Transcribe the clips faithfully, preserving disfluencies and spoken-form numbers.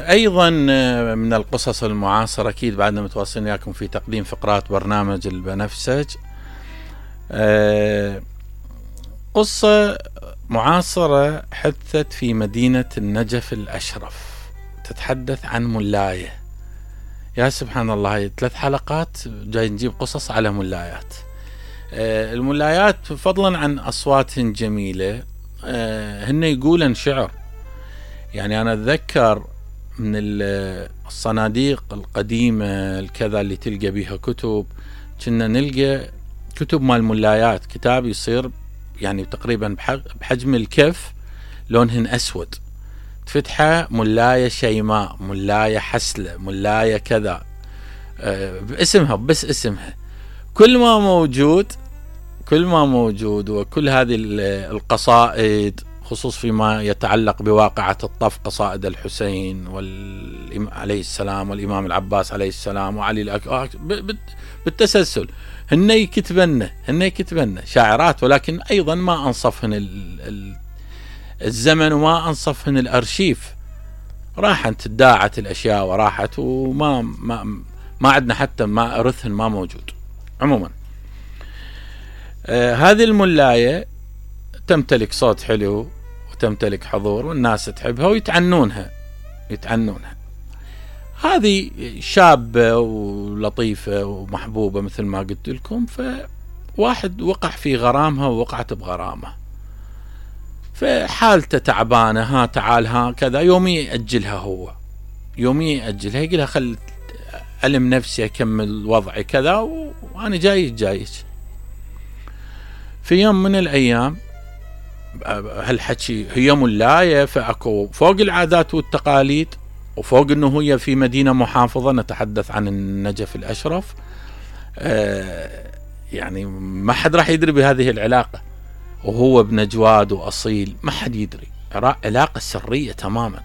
أيضا من القصص المعاصرة، أكيد بعدنا متواصلين وياكم في تقديم فقرات برنامج البنفسج. قصة معاصرة حدثت في مدينة النجف الأشرف، تتحدث عن ملاية. يا سبحان الله، ثلاث حلقات جاي نجيب قصص على ملايات. الملايات فضلا عن أصوات جميلة هن يقولن شعر. يعني أنا أتذكر من الصناديق القديمة الكذا اللي تلقى بيها كتب، كنا نلقى كتب مال ملايات، كتاب يصير يعني تقريبا بحجم الكف، لونهن أسود، تفتحه ملاية شيماء، ملاية حسلة، ملاية كذا، باسمها بس اسمها. كل ما موجود كل ما موجود وكل هذه القصائد، خصوص فيما يتعلق بواقعة الطف، قصائد الحسين عليه السلام والإمام العباس عليه السلام وعلي الأكبر بالتسلسل، هن يكتبن هن يكتبن شاعرات، ولكن أيضا ما أنصفهن الزمن وما أنصفهن الأرشيف. راحت تداعت الأشياء وراحت، وما ما, ما عندنا حتى ما أرثهن ما موجود. عموما آه هذه الملاية تمتلك صوت حلو وتمتلك حضور، والناس تحبها ويتعنونها يتعنونها. هذه شابة ولطيفة ومحبوبة مثل ما قلت لكم، فواحد وقع في غرامها ووقعت بغرامة، فحالته تعبانة، ها تعال ها كذا، يومي يأجلها، هو يومي يأجلها، يقولها خل ألم نفسي أكمل وضعي كذا وأنا جاي جايك. في يوم من الأيام، هالحكي هي ملاية، فأكو فوق العادات والتقاليد وفوق أنه هي في مدينة محافظة، نتحدث عن النجف الأشرف، آه يعني ما حد راح يدري بهذه العلاقة، وهو ابن جواد وأصيل، ما حد يدري، علاقة سرية تماما.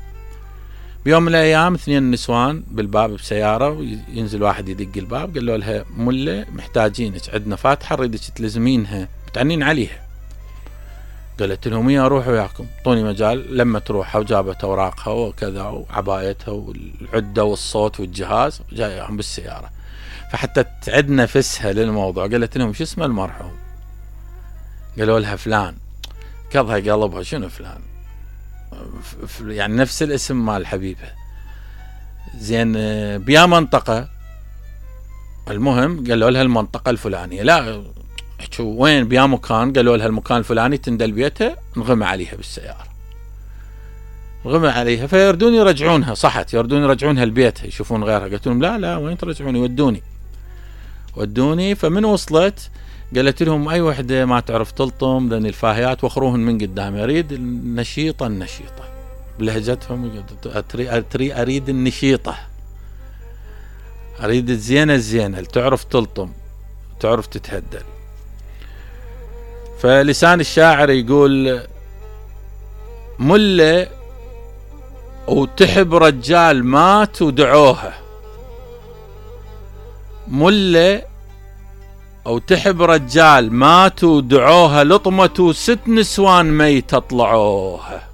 بيوم من الأيام اثنين نسوان بالباب بسيارة، وينزل واحد يدق الباب، قال له لها ملة محتاجينك، عندنا فاتحة نريدك تلزمينها، متعنين عليها. قالت لهم يا روحوا وياكم، طوني مجال. لما تروحها وجابت أوراقها وكذا وعبايتها والعدة والصوت والجهاز، جايهم بالسيارة. فحتى تعد نفسها للموضوع قالت لهم شو اسم المرحوم؟ قالوا لها فلان. كظها قلبها، شنو فلان؟ يعني نفس الاسم مال حبيبها. زين بيا منطقة؟ المهم قالوا لها المنطقة الفلانية. لا شو وين بيا مكان؟ قالوا لها المكان الفلاني، تندل بيتها، نغمى عليها بالسيارة، نغمى عليها. فيردون يرجعونها، صحت يردون يرجعونها لبيتها، يشوفون غيرها. قلت لهم لا لا وين ترجعوني؟ ودوني ودوني. فمن وصلت قالت لهم اي وحده ما تعرف تلطم ذن الفاهيات وخروهن من قدام، اريد النشيطه النشيطه بلهجتهم، أتري اريد النشيطه، اريد الزينه الزينه اللي تعرف تلطم تعرف تتهدل. فلسان الشاعر يقول ملة وتحب رجال مات ودعوها، ملة أو تحب رجال ماتوا ودعوها، لطمة ست نسوان ميتة طلعوها.